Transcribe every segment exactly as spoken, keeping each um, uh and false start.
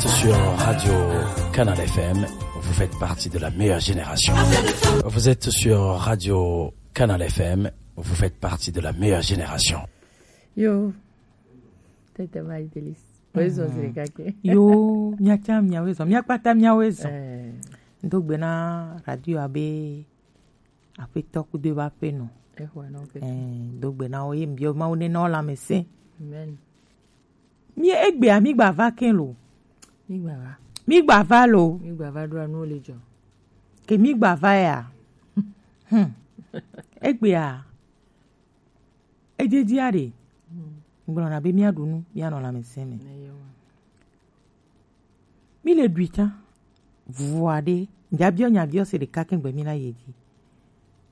Sur Radio Canal F M, vous faites partie de la meilleure génération. Vous êtes sur Radio Canal F M, vous faites partie de la meilleure génération. Yo, tete ma Idélis. Oezɔ zile kake. Yo, miatsa miawe zɔ, miakpata miawe zɔ. Eh. Do gbe na radio abe Aƒetɔ kudo eƒe aƒenɔ. Exɔe na wo keke. Eh, do gbe na wo ye mbiɔ Mawu ne na wo lãmesẽ. Amen. Mi egbea mi gba va ke lo. Mi gba va. Mi gba va lo. Mi gba va ɖo anu le dzɔ. Ke mi gba va ya. Hmm. Egbea. Edzedia ɖe. Hmm. Gblɔna be miaɖu nu, mianɔ lãmesẽ me. Eyewa. Mi le ɖui tsã. Vua ɖe, ŋdza biɔ nya biɔ se ɖeka kɛŋgbɛ mi la yi dzi.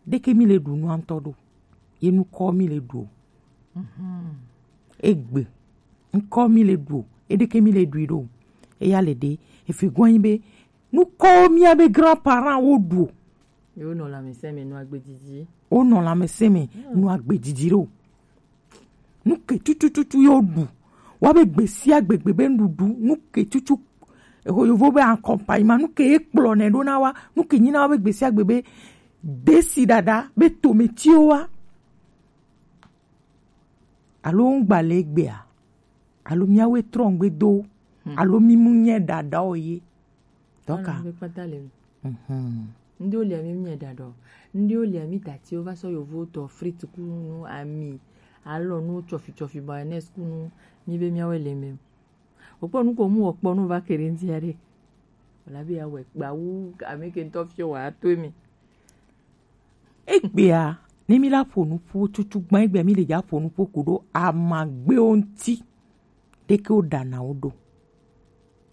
Ɖeke mi le ɖu nua ŋutɔ ɖo. Ye nukɔ mi le ɖu o. Mhm. Egbe. Ŋkɔ mi le ɖu o. Eɖeke mi le ɖui ɖo. Eya le ɖe. Efi gɔnyi be nukɔwo mia be grand parent wo ɖu o. Ye wonɔ lãmesẽ me nɔ agbe didi. Wonɔ lãmesẽ me nɔ agbe didi ɖo. Nu ke tutututu ye woɖu. Wa be gbe sia gbe gbe be nuɖuɖu. Nu ke tutu. Eho yovo be accompagnement. Nu ke ye kplɔ nɛ ɖo na wa. Nu ke nyi na wa be gbe sia gbe be desi ɖaɖa be tometiwo wa. Alo ŋgba le egbea. Alo miawoe trɔ ŋgbe do. Hmm. Alo mi mu nye ɖaɖawo ye. Dɔka. Alo ŋgbe kpata le mi. Mhm. Ndi wo lia mi mu nye ɖaɖa. Ndi wo lia mi tatiwo va sɔ yovo tɔ frit ku nu ami. Alo nu tsɔfi tsɔfi mayonnaise ku nu. Mi be miawoe le mi. Wokpɔ nu ko mu wɔ kpɔ nu va ke ɖe ŋuti aɖe. Wòle abe yeawɔe kpa wu ame ke ŋutɔ fiɔ wòato eme. Egbea, ne mi la ƒo nu ƒo tutu gbã, egbea mi le dza ƒo nu ƒo ku ɖo amagbewo ŋuti. Ɖeke wo ɖana wo ɖo.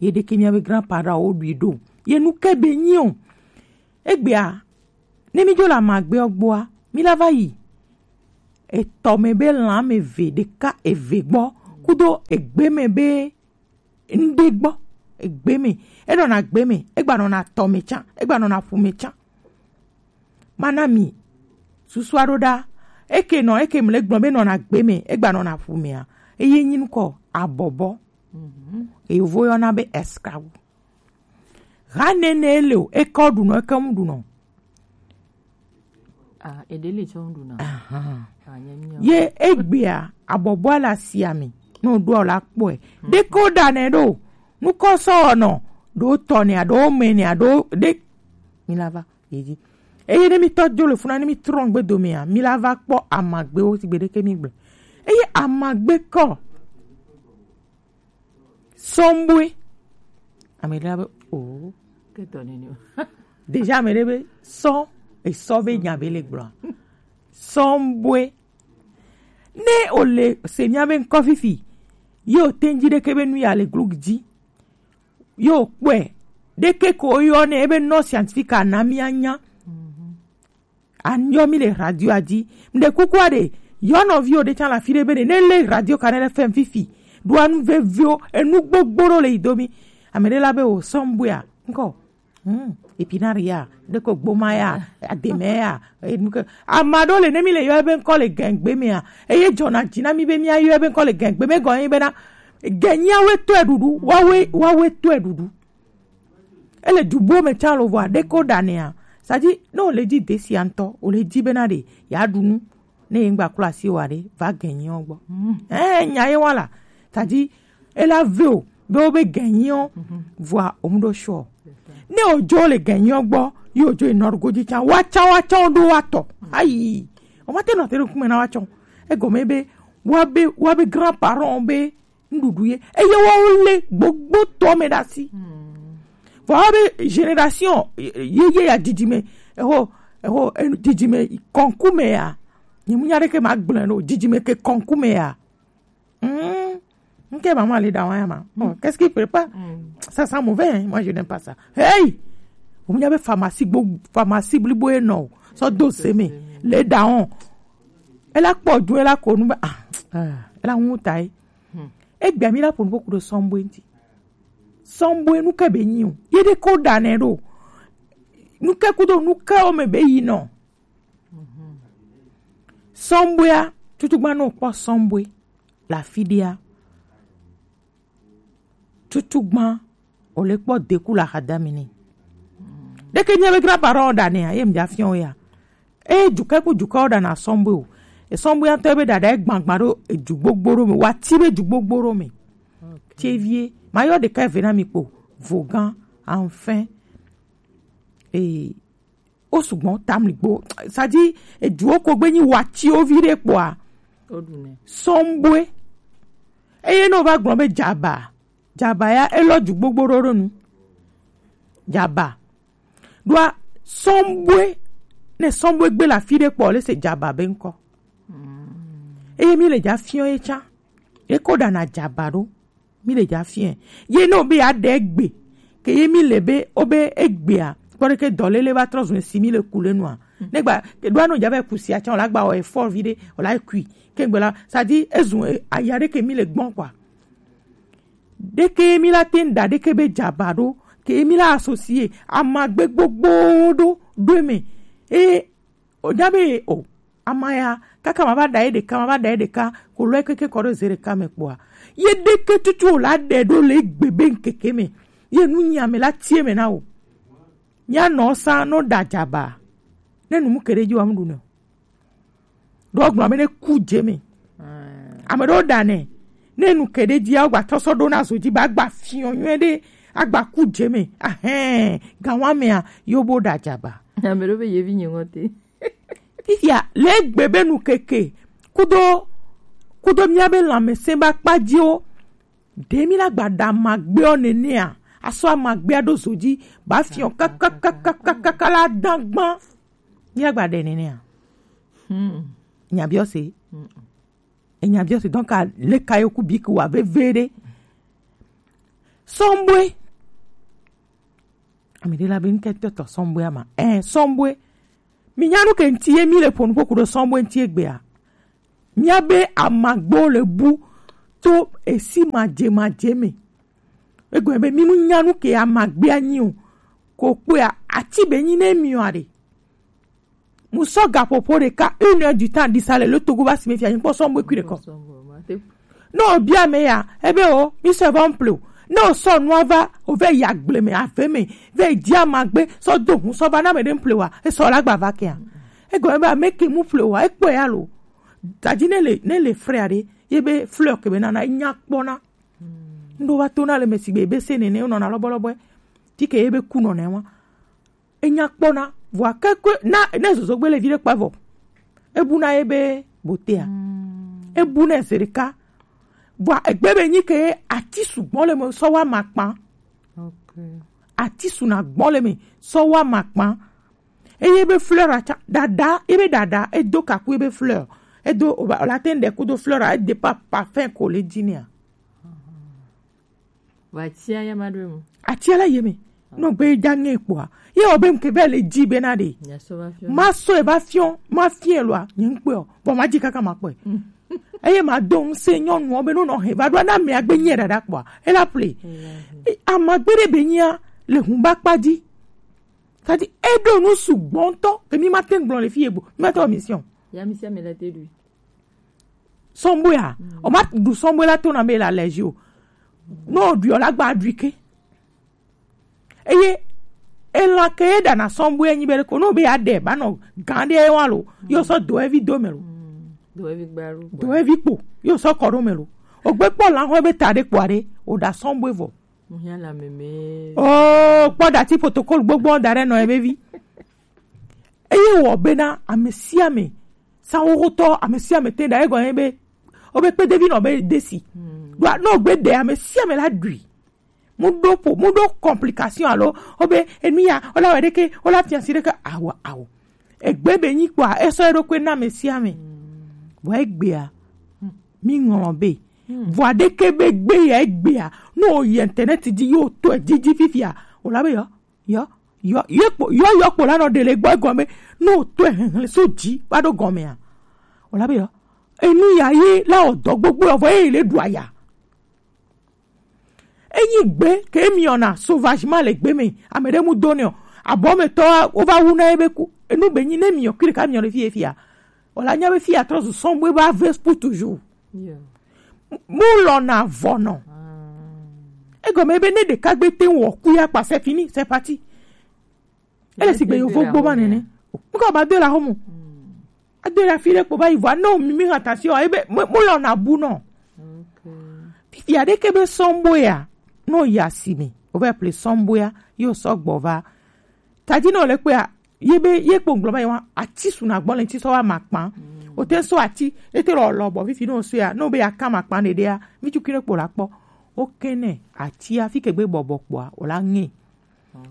Ye ɖeke miabe grand parent wo ɖui ɖo. Ye nu ke be nyi o. Egbea, ne mi dzo le amagbeɔ gbɔa, mi la va yi etɔ me be lã me ve ɖeka eve gbɔ, kudo egbe me be ŋɖe gbɔ, egbe me. Enɔna gbe me, egba nɔna tɔ me tsã, egba nɔna ƒu me tsã. Mana mi susu aɖo ɖa. Eke nɔ, eke mle gblɔ be nɔna gbe me, egba nɔna ƒu mea. Eye nyi nukɔ abɔbɔ. Mhm. Eyovo yɔna be escrow. Ha nene ele o, ekɔ ɖunɔ, eke ŋu ɖunɔ. Ah, eɖe le tsɔ ŋu ɖuna. Aha. Ah, nye mi. Ye egbea, abɔbɔa le asia me. No ɖoa la kpɔe. Hmm. Ɖeke wo ɖanɛ ɖo. Nukɔ sɔ nɔ. Ɖo tɔ nɛ, ɖo me nɛ, ɖo ɖe. Mi la va. Yedzi. Eye ne mi tɔ dzo le funa, ne mi trɔ ŋgbe domea, mi la va kpɔ amagbewo si gbe ɖeke mi gblɔ. Eye amagbe kɔ. Sɔnbue. Ame ɖe be o. Ketɔ nene o. Déjà ame ɖe be sɔ esɔ be nya be le gblɔa. Sɔnbue. Ne o le se mia be ŋkɔ fifi. Ye o teŋ dzi ɖeke be nu ya le glug dzi. Ye o kpɔe. Ɖeke ko yɔ ne ebe nɔ scientifique ana mia nya. Anyɔ mi le radio a dzi. Mɖe kukua ɖe, yɔ nɔviwo ɖe tsã le afi ɖe be ɖe ne le radio Kanel F M fifi. Ɖoa nu veviwo, enu gbogbo ɖo le yi do mi. Ame ɖe la be o sɔnbua, ŋkɔ. Hmm, epinari ya, ɖeko gboma ya, ademe ya, enu ke. Ame aɖewo le ne mi le yɔ ebe ŋkɔ le gɛngbe mea. Eye dzɔna dzi na mi be mia yɔ ebe ŋkɔ le gɛngbe me gɔnye bena. Gɛnyia we tɔe ɖuɖu, wawe, wawe tɔe ɖuɖu. Ele du bo me tsã lo vɔ aɖeke wo ɖanɛa. Sadi ne o le dzi desi ya ŋutɔ, o le dzi bena ɖe ya ɖu nu. Ne ye ŋgba klo asi wa ɖe, va gɛnyiɔ gbɔ. Mm. Eh, nya ye wa la. Sadi ela ve o be wo be gɛnyiɔ vɔa o mu ɖo sɔ. Ne o dzo le gɛnyiɔ gbɔ, ye o dzo enɔ ɖo godzi tsã, wa tsã wa tsã o ɖo wa tɔ. Ayi. O ma te nɔ te ɖo kume na wa tsɔ. Egɔme be wa be wa be grand parent be nuɖuɖu ye eye woawo lé gbogbo tɔ me ɖe asi. Vɔ abe génération ye ye ya didi me eho eho didi me kɔnku me ya. Nye mu nya ɖeke ma gblẽ no didi me ke kɔnku me ya. Hmm. Nke maman le dans ya ma. Oh, qu'est-ce qu'il prépare? Ça sent mauvais, hein? Moi je n'aime pas ça. Hey! Mu nya be pharmacie gbo pharmacie blibo e no. So do se me. Le daon. Ela kpɔ du ela ko nu be ah. Ela ŋu ta yi. Egbea mi la ƒo nuƒo ku ɖo sɔnbue ŋuti. Sɔnbue nu ke be nyi o. Ye ɖe ko ɖa nɛ ɖo. Nu ke kudo nu ke wo me be yi nɔ. Sɔnbuea, tutugba no kpɔ sɔnbue. La afi ɖea. Tutugba O le kpɔ deku le axadame nɛ. Ɖeke nye be grand parent ɖa nɛa, ye mi dza fiɔ ya. E jukɛ ku jukɛ o ɖa na sɔnbue o. E sɔnbue ŋutɔ be ɖaɖa e gbagba ɖo eju gbogbo ɖo me. Wa ti be ju gbogbo ɖo me. Tevie, ma yɔ ɖeka eve na mi kpo. Vogan, enfin. E, o sugbɔ tamli gbo. Sadi, ejuwo ko gbe nyi wa ti o vi ɖe kpoa. Sɔnbue. Eye no va gblɔ be jaba. Jaba ya, elɔ ju gbogbo ɖo ɖo nu. Jaba. Ɖoa sɔnbue, ne sɔnbue gbe le afi ɖe kpɔ, le se jaba be ŋkɔ. Eye mi le dza fiɔ ye tsã. Ye ko ɖana jaba ɖo. Mi le dza fiɛ. Ye ne o be ya ɖe egbe. Ke ye mi le be, o be egbea. Kpɔ ɖe ke dɔlele va trɔ zun si mi le ku le nua. Ne gba, ke ɖoa no dza va ku sia tsã, o la gba o effort vi ɖe, o la kui. Ke gbe la, ça dit, ezun, e, aya ɖe ke mi le gbɔn kpoa. Ɖeke mi la te ŋu ɖa ɖeke be jaba ɖo, ke mi la associer amagbe gbogbo ɖo ɖo eme. E, o nya be o, ama ya, kaka ma va ɖa ye ɖeka, ma va ɖa ye ɖeka, ko lɔ ye keke kɔ ɖo ze ɖeka me kpoa. Ye ɖeke tutu o la ɖe ɖo le egbe be ŋkeke me. Ye nu nya me la tie me na o. Mia nɔ sa no ɖa jaba. Ne nu mu ke ɖe dzi wa mu ɖu ne o. Ɖo gblɔ be ne ku dze me. Ame ɖewo ɖa nɛ. Ne nu ke ɖe dzia, wogba trɔ sɔ ɖo na zo dzi ba agba fiɔ nyuie ɖe, agba ku dze me. Ahɛn, gawa mea, yo bo ɖa jaba. Ame ɖewo be yevi nye ŋɔte. Fifia, le egbe be nu keke, kudo, kudo mia be lãmesẽ ba kpa dziwo. Ɖe mi la gba ɖa amagbeɔ nenea, asɔ amagbea ɖo zo dzi, ba fiɔ kakakakakaka la dagba. Mia gba ɖe nenea. Hmm. Nya biɔ se. Hmm. E nya biɔ se, donc, a, le ka yo ku bi ku wa veve ɖe. Sɔnbue. Ame ɖe la be ŋkɛ tɔ sɔnbue ama. Eh, sɔnbue. Mi nya nu ke ŋti ye mi le ƒo nu ƒo ku ɖo sɔnbue ŋti egbea. Mia be amagbo le bu to esi madze madze me. Egɔme be mi mu nya nu ke amagbea nyi o. Ko kpɔa, ati be nyi ne miɔ aɖe. Mu sɔ gaƒoƒo ɖeka, une heure du temps, ɖi sa le lo Togo va si me fia, nyi kpɔ sɔnbue kui ɖekɔ. Ne o bia me ya, ebe o, mi sɔ va ŋple o. Ne o sɔ nua va, o va yi agble me, ave me, va yi dzi amagbe, sɔ do hu, sɔ va na me ɖe ŋple wa, e sɔ la gba va kea. Egɔme be ame ke mu ƒle wa, e kpɔe ya lo. Tadi ne le, ne le frère ɖe, ye be fleur ke be nana, e nya kpɔna. Ŋɖo va to na le me sigbe be se nene, o nɔna lɔbɔlɔbɔe. Ti ke ye be ku nɔna wa. Enya kpɔna, vɔa kekwe, na, ne zozogbe le vi ɖe kpa vɔ. Ebu na ye be botea. Mm. Ebu na ze ɖeka. Vɔa egbe be nyi ke ati sugbɔ le me sɔ wa ma kpa. Okay. Ati suna gbɔ le me sɔ wa ma kpa. Eye be fleur atsa, dada, ebe dada, edo kaku ebe fleur. Edo, o ba, o la te ŋɖe kudo fleur, e dépend parfum ko le dzi nea. Vɔ atia ya ma ɖo emu. Atia la ye me. Nɔ gbe ja ŋe kpɔa. Ye o be ŋke be le dzi be na ɖe. Nya sɔ va fiɔ. Ma sɔ e va fiɔ, ma fiɛ lɔa, nye ŋkpɔe o. Bɔ ma dzi kaka ma kpɔe. Eye ma do ŋse nyɔnuɔ be no nɔ he va ɖo na me agbe nye ɖaɖa kpɔa. E la ple. E, amagbe ɖe be nyia le hun ba kpa dzi. Kadi e ɖo nu sugbɔ ŋtɔ, ke mi ma te ŋgblɔ le fi ye gbo. Mi ma te wɔ mission. Ya mi sia mi le te ɖui. Sɔnbɔe a, o ma ɖu sɔnbɔe la to na be la lɛji o. No ɖui o la gba ɖui ke. Eye, elan ke ye ɖana sɔnbɔe nyi be ko no be ya ɖe ba nɔ gan ɖe wa lo. Yo sɔ do evi do me lo. Do evi gba lo. Do evi kpo. Yo sɔ kɔ ɖo me lo. O gbe kpɔ lan ho be ta ɖe kpɔ ɖe. O ɖa sɔnbɔe vɔ. Mo hia la meme. Oh, kpɔ dati protocole gbogbo da ɖe nɔ ebe vi. Eye wɔ bena ame sia ame, sa wo hotɔ ame sia ame te da egɔ ye be, o be kpedevi nɔ be desi. Hmm. Ɖo no gbe ɖe ame sia ame la ɖui. Mu ɖo po, mu ɖo complication alo, o be enu ya, o la wɔ ɖeke, o la fiansi ɖeke, awo, awo. Egbe be nyi kpɔa, esɔ eɖokui na ame sia ame. Vɔ egbea, mi ŋlɔ be. Vɔ aɖeke be gbe ya egbea, no o yi internet dzi yo to dzi dzi fifia, o la be yɔ, yɔ, yɔ, yɔ kpo, yɔ, yɔ kpo la nɔ ɖe le gbɔ egɔme, no o to hehle so dzi va ɖo gɔmea, o la be yɔ, enu ya ye la o dɔ gbogbo vɔ ye le ɖu aya. Enyi gbe ke miɔna sauvagement le gbe me, ame ɖe mu do ne o. Abɔmetɔ wo va wu na ebe ku. Enu be nyi ne miɔ kui ɖeka miɔ le fi ye fia. O la nya be fia trɔ zu sɔn bo eva ve pour toujours. Yeah. Mu lɔna vɔ nɔ. Ah. Egɔme be ne ɖeka gbe te wɔ ku ya kpa, c'est fini, c'est parti. Ele sigbe yovo gbo ba nene. Nko ba do la homo. Ado la fi ɖe kpo ba yi vɔ, no mi mi hã ta si o, ebe mo, mo lɔ na bu nɔ. Fifi aɖe ke be sɔmbo ya, no ya si mi. O va ple sɔmbo ya, yo sɔ gbɔ va. Tadi no le kpe a, ye be, ye kpo ngblɔ ma ye wa, ati su na gbɔ le ŋti sɔ wa ma kpa. O te sɔ ati, e te lɔ lɔ bɔ fifi no so ya, no be ya ka ma kpa ne ɖe ya, mi tu kine kpo la kpɔ. O kene, ati ya fi ke gbe bɔbɔ kpɔa, o la ŋe.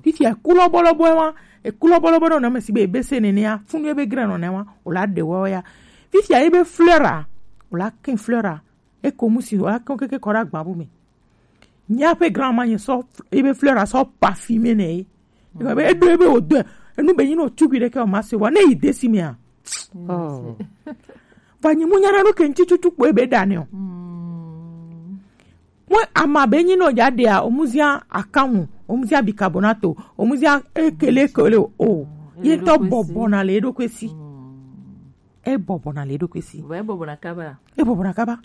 Fifia eku lɔbɔlɔbɔ wa, eku lɔbɔlɔbɔ nɔ name si be ebe se nenea, funu ebe gre nɔ ne wa, o la de wɔ ya. Fifia ebe fleura, o la kin fleura, e ko musi, o la kin keke kɔ ɖe agba bu me. Nya pe grand ma nye sɔ ebe fleura sɔ parfumé ne ye. Ebe edo ebe o do, enu be nyi no tubi ɖe ke o ma se wa, ne yi desi me a. Oh. Va nyi mu nyana no ke ŋti tutu kpo ebe da ne o. Mwe ama be nyi no ja de a, omuzia akanwu, omuzia bicarbonato, omuzia ekele ekele o. Ye ŋtɔ bɔbɔ na le eɖokui si. E bɔbɔ na le eɖokui si. Vɔ ebɔbɔ na kaba. E bɔbɔ na kaba.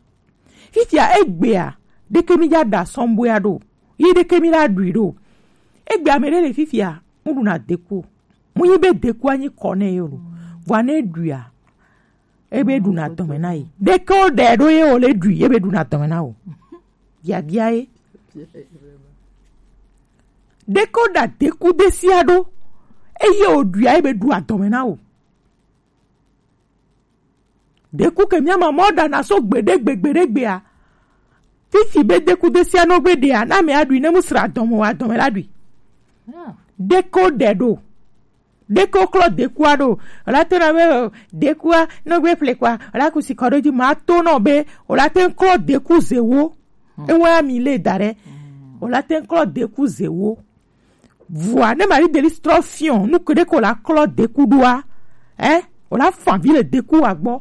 Fifia egbea, ɖeke mi ja da sɔmboea ɖo. Ye ɖeke mi la ɖui ɖo. Egbea me ɖe le fifia, mu ɖu na deku. Mu yi be dekua nyi kɔ ne yo lo. Vɔ ne ɖuia, ebe ɖuna dɔme na ye. Ɖeke wo ɖe ɖo ye wo le ɖui, ebe ɖuna dɔme na wo. Biabia ye. Ɖeke wo ɖa deku desia ɖo, eye wo ɖuia ebe ɖua dɔme na wo. Deku ke mia mama wo ɖana so gbeɖe gbe gbeɖe gbea. Fifi be deku desia no gbe ɖea, na me aɖui ne mu sra dɔme wa dɔme la ɖui. Ɖeke wo ɖe ɖo. Ɖeke wo klɔ dekua ɖo. O la to na be, o, dekua, no gbe ƒle kua, o la ku si kɔ ɖo dzi ma to nɔ be, o la te klɔ deku zewo. Ewa mi le da ɖe. O la te klɔ deku zewo. Vua, ne Marie Delice trɔ fiɔ, nu ke ɖe ko la klɔ deku ɖoa, eh, o la fa vi le deku wa gbɔ.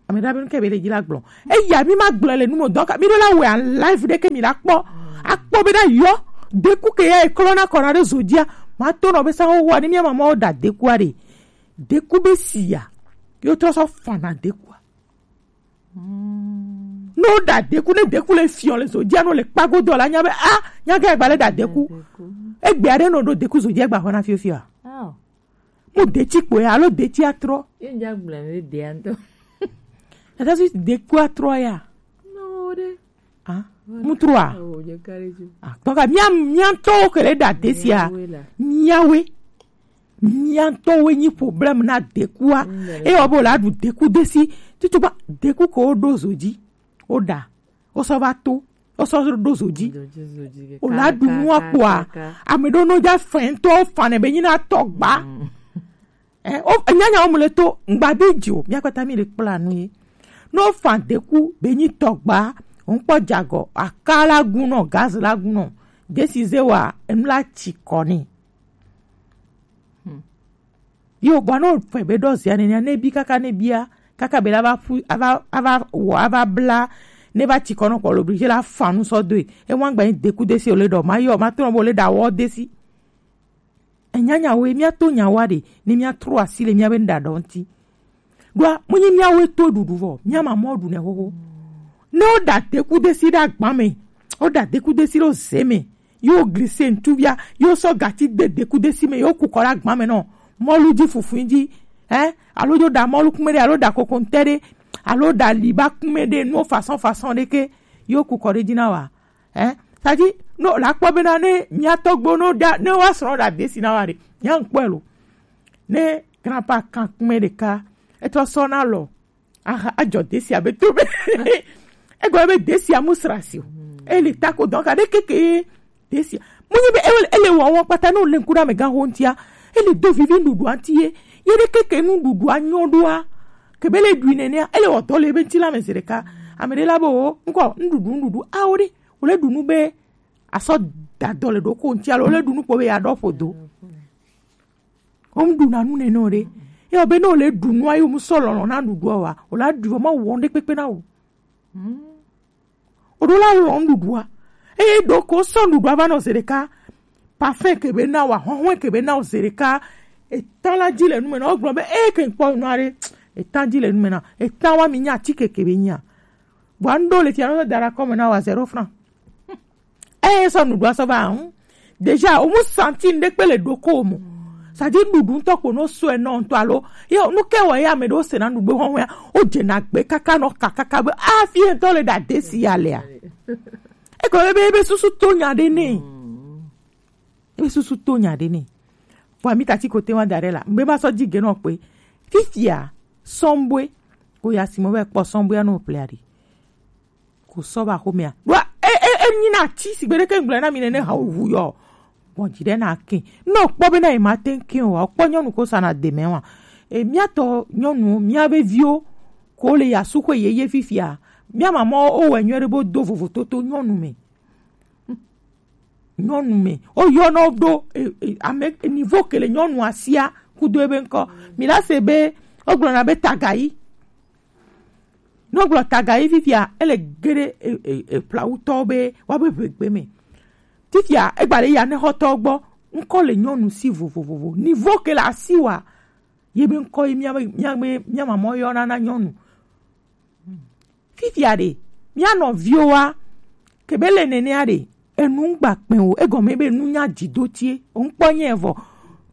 Ame ɖa be nu ke be le dzi la gblɔ. Eya mi ma gblɔ le nu mo dɔn ka. Mi ɖo la wɛ an live ɖe ke mi la kpɔ. Akpɔ be ɖa yɔ. Deku ke ya eklɔ na kɔ na ɖe zo dzia. Ma to nɔ be sa wo wa ni mi ama ma wo da dekua ɖe. Deku be si ya. Yo trɔ sɔ fa na dekua. No da deku ne deku le fiɔ le zo dzia no le kpago dɔ la nya be a nya ke gba le da deku. Egbe aɖe no ɖo deku zo dzia gba xɔ na fiofio a. Mo detsi kpoe alo detsi atrɔ. Ye ŋdza gblɔ ne ɖea ŋutɔ. Tata si deku atrɔ ya. No ɖe. Ah, mutrua. Oh, je kare ju. Ah, donc mia mia tɔwo ke le da desia. Miawe la. Miawe. Mia tɔwo nyi problème na dekua. Eye wo be la ɖu deku desi. Tutu ba deku ko ɖo zo dzi. O da. O sɔ va to. O sɔ ɖo zo dzi. O la ɖu nua kpoa. Ame ɖo no dza fɛn tɔ fane be nyi na tɔ gba. Eh, o nyanya wo mu le to ngba bi dzi o. Mia kpata mi le kpla nu ye. No fa deku be nyi tɔ gba. O kpɔ jagɔ. Aka la gun nɔ, gaz la gun nɔ. Desi ze wa enu la tsi kɔ ni. Yo, bua no fɛ be ɖɔ zia nenia ne bi kaka ne bia kaka be la va ƒu ava ava wɔ ava bla ne va tsi kɔ nɔ kɔ lo obligé la fa nu sɔ doe. E wa gba nyi deku desi o le ɖɔ ma yɔ ma trɔ bo le ɖa wɔ desi. Enyanya wo mia to nya wa ɖe ne mia trɔ asi le mia be ɖa ɖɔ ŋti. Ɖoa mu nyi mia wo to ɖuɖu vɔ mia ma mɔ ɖu ne xoxo. Ne wo ɖa deku desi ɖe agba me, wo ɖa deku desi ɖo ze me. Yo glise ŋtuvia, yo sɔ gati de deku desi me, yo ku kɔ ɖe agba me nɔ. Mɔlu dzi fufu dzi, eh? Alo yo ɖa mɔlu kume ɖe, alo ɖa kokoŋte ɖe, alo ɖa liba kume ɖe, nuwo façon façon ɖe ke, yo ku kɔ ɖe dzi na wa, eh? Sadi, no la kpɔ bena ne mia tɔgbo no ɖa, ne wa srɔ ɖa desi na wa ɖe, mia ŋkpɔe lo. Ne grandpa kan kume ɖeka, etɔ sɔ na lɔ, aha, ajɔ desia be to be. Egɔme be desia mu sra si o. Ele tako dɔn ka ɖe keke desia. Mu nyi be ele, ele wɔ wɔ kpata no le ŋku ɖe amegã ho ŋtia. Ele do vivi nuɖuɖua ŋti ye. Ye ɖe keke nuɖuɖua nyɔ ɖoa. Ke be le ɖui nenea, ele wɔ dɔ le be ŋti la me zi ɖeka. Ame ɖe la be o, ŋkɔ nuɖuɖu nuɖuɖu awo ɖe. Wo le ɖu nu be asɔ da dɔ le ɖoko ŋti alo wo le ɖu nu kpo be ya ɖɔ ƒo do. Wo mu ɖuna nu nene o ɖe. Ye wo be ne wo le ɖu nua ye wo mu sɔ lɔlɔ na ɖuɖua wa, wo la ɖui vɔ ma wɔ ŋɖe kpekpe na wo. Wo ɖo la lɔ nuɖuɖua. Eye ɖo ko sɔ nuɖuɖua va nɔ ze ɖeka. Parfum ke be na wa, hɔhɔe ke be na wo ze ɖeka. Eta la dzi le nu me na wo gblɔ be e ke kpɔ nua ɖe. Eta dzi le nu me na. Eta wa mi nya atike ke be nya. Bua ŋɖo le fia no da ɖe akɔme na wa zéro franc. Eh, sɔ nuɖuɖu asɔ va, hm. Déjà, o mu santi ŋɖe kpe le ɖoko o mo. Ça dit, nuɖuɖu ŋutɔ kpo no sɔe nɔ ŋutɔ alo. Ye, nu ke wɔ ye ame ɖewo se na nugbe hɔn ya. O dze na gbe kaka nɔ ka kaka be, ah, fi ŋutɔ le ɖa desi ya lea. Eko ebe, ebe susu to nya ɖe nɛ. Ebe susu to nya ɖe nɛ. Vɔa mi tati kote wa da ɖe la. Mbe ma sɔ di ge nɔ kpe. Fifia, sɔnbue. Ko ya si mo be kpɔ sɔnbue ya no ple aɖi. Ko sɔ va xomea. Ɖoa, e, e, e nyi na ti sigbe ɖe ke ŋgblɔ na mi nene ha wu yɔ. Gbɔn dzi ɖe na ke. Ne o kpɔ be na yi ma te ke o, o kpɔ nyɔnu ko sa na de mɛ wa. E mia tɔ nyɔnu, mia be viwo ko le ya su xwe yeye fifia. Mia mamɔ o wɛ nyuie ɖe bo do vovo toto nyɔnu me. Nyɔnu me. O yɔ na o ɖo, e, e, ame, e, niveau ke le nyɔnu asia kudo ebe ŋkɔ. Mi la se be, o gblɔ na be tagayi. Ne wogblɔ tagayi fifia, ele ge ɖe e, e, e, Plawutɔwo be woabe ʋegbe me. Fifia, egba le ya ne xɔtɔwo gbɔ, ŋkɔ le nyɔnu si vovovovo. Nivo ke le asi wa, ye be ŋkɔ ye mía be, mía be, mía mamɔ yɔna na nyɔnu. Fifia ɖe, mía nɔviwo wa, ke be le nenea ɖe, enu ŋgba kpɛ o, egɔme be nu nya dzi do tie, o ŋkpɔ nyɛ vɔ.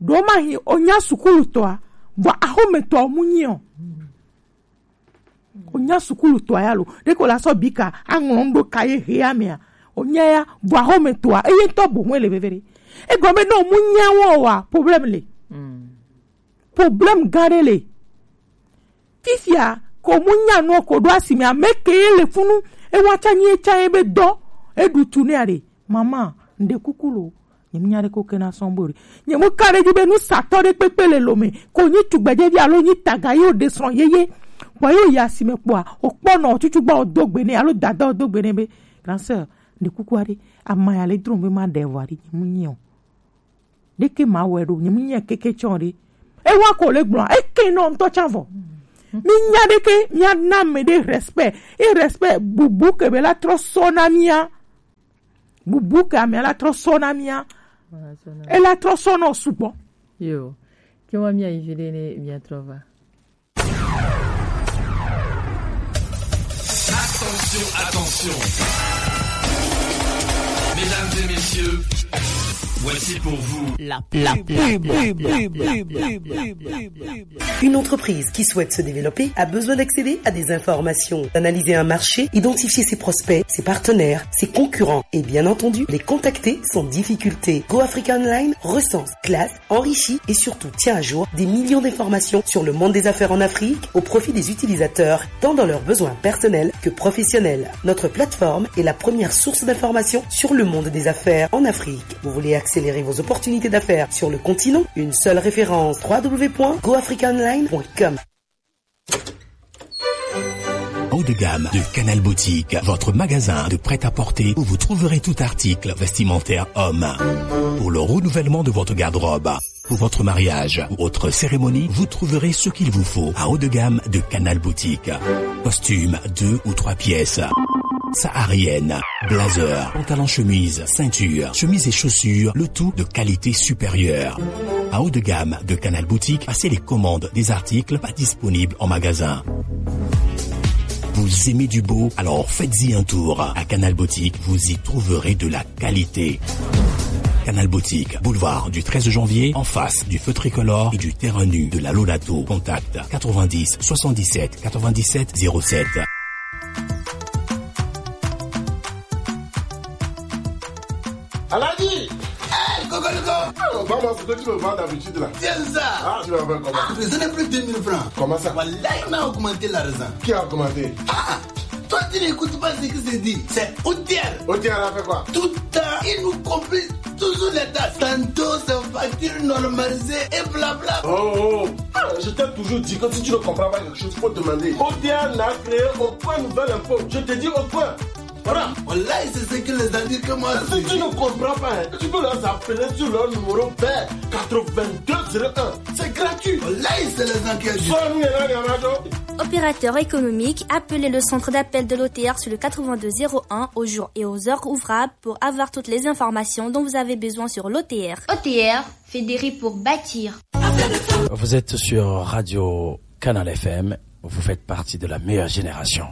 Ɖo ma hi, o nya sukulutɔa, vɔ axometɔa o mu nyi o. O nya sukulutɔ ya lo. Ɖeko la sɔ bi ka aŋlɔ ŋɖo ka ye hea mea. O nya ya vɔ axɔme toa eye ŋutɔ bo ŋue le veve ɖe. Egɔme ne o mu nya wɔ wa problème le. Problème gã ɖe le. Fifia ko mu nya nua ko ɖo asi me ame ke ye le funu. Ewa tsa nyi etsa ye be dɔ. Eɖu tu ne aɖe. Mama, ŋɖe kuku lo. Nye mu nya ɖe ko ke na sɔn bo ɖe. Nye mu ka ɖe dzi be nusatɔ ɖe kpekpe le lo me. Ko nyi tugbedzevi alo nyi taga ye o ɖe srɔ̃ yeye. Kpɔ ye o yi asime kpɔa, o kpɔ nɔ tutu gba o do gbe ne alo dada o do gbe ne be, grand sœur, ŋɖe kuku aɖe, ama ya le dro be ma ɖe vɔ aɖe, nye mu nyi o. Ɖeke ma wɛ ɖo, nye mu nyi keke tsɔ ɖe. Ewa ko le gblɔ, eke nɔ ŋutɔ tsa vɔ. Mi nya ɖeke, mia na me ɖe respect. E respect bubu ke be la trɔ sɔ na mia. Bubu ke ame la trɔ sɔ na mía. Ela trɔ sɔ nɔ sugbɔ. Yo, ke wa mía yi vi ɖe ne mía trɔ va. Attention, attention. Mesdames et messieurs, voici pour vous la, la pub. Une entreprise qui souhaite se développer a besoin d'accéder à des informations, d'analyser un marché, identifier ses prospects, ses partenaires, ses concurrents et bien entendu les contacter sans difficulté. Go Africa Online recense, classe, enrichit et surtout tient à jour des millions d'informations sur le monde des affaires en Afrique au profit des utilisateurs, tant dans leurs besoins personnels que professionnels. Notre plateforme est la première source d'information sur le monde des affaires en Afrique. Vous voulez accélérer vos opportunités d'affaires sur le continent ? Une seule référence, trois w point go africa online point com. Haut de gamme de Canal Boutique, votre magasin de prêt-à-porter où vous trouverez tout article vestimentaire homme. Pour le renouvellement de votre garde-robe, pour votre mariage ou autre cérémonie, vous trouverez ce qu'il vous faut à haut de gamme de Canal Boutique. Costume deux ou trois pièces, saharienne, blazer, pantalon chemise, ceinture, chemise et chaussures, le tout de qualité supérieure. À haut de gamme de Canal Boutique, passez les commandes des articles pas disponibles en magasin. Vous aimez du beau ? Alors faites-y un tour. À Canal Boutique, vous y trouverez de la qualité. Canal Boutique, boulevard du treize janvier, en face du feu tricolore et du terrain nu de la Lonato. Contact quatre-vingt-dix soixante-dix-sept quatre-vingt-dix-sept zéro sept. Aladi. Hey, Kokoliko. Ah, on va voir ce que tu me vends d'habitude là. Tiens ça. Ah, tu vas faire comment ? Ah, mais ce n'est plus deux mille francs. Comment ça ? Wallahi, on a augmenté l'argent. Qui a augmenté ? Ah, toi, tu n'écoutes pas ce qui se dit. C'est O T R. O T R a fait quoi ? Tout le temps, il nous complique toujours les dates. Tantôt, c'est facture normalisée et blabla. Oh, oh. Ah, je t'ai toujours dit que si tu ne comprends pas quelque chose, faut demander. O T R n'a créé aucun nouvel impôt. Je te dis aucun. Voilà. Wallahi, c'est ce que les amis que moi. Si tu ne comprends pas, hein, tu peux leur appeler sur leur numéro vert quatre-vingt-deux zéro un. C'est gratuit. Wallahi, c'est les gens qui ajoutent. Opérateur économique, appelez le centre d'appel de l'O T R sur le quatre-vingt-deux zéro un au jour et aux heures ouvrables pour avoir toutes les informations dont vous avez besoin sur l'O T R. O T R, fédérer pour bâtir. Vous êtes sur Radio Canal F M, vous faites partie de la meilleure génération.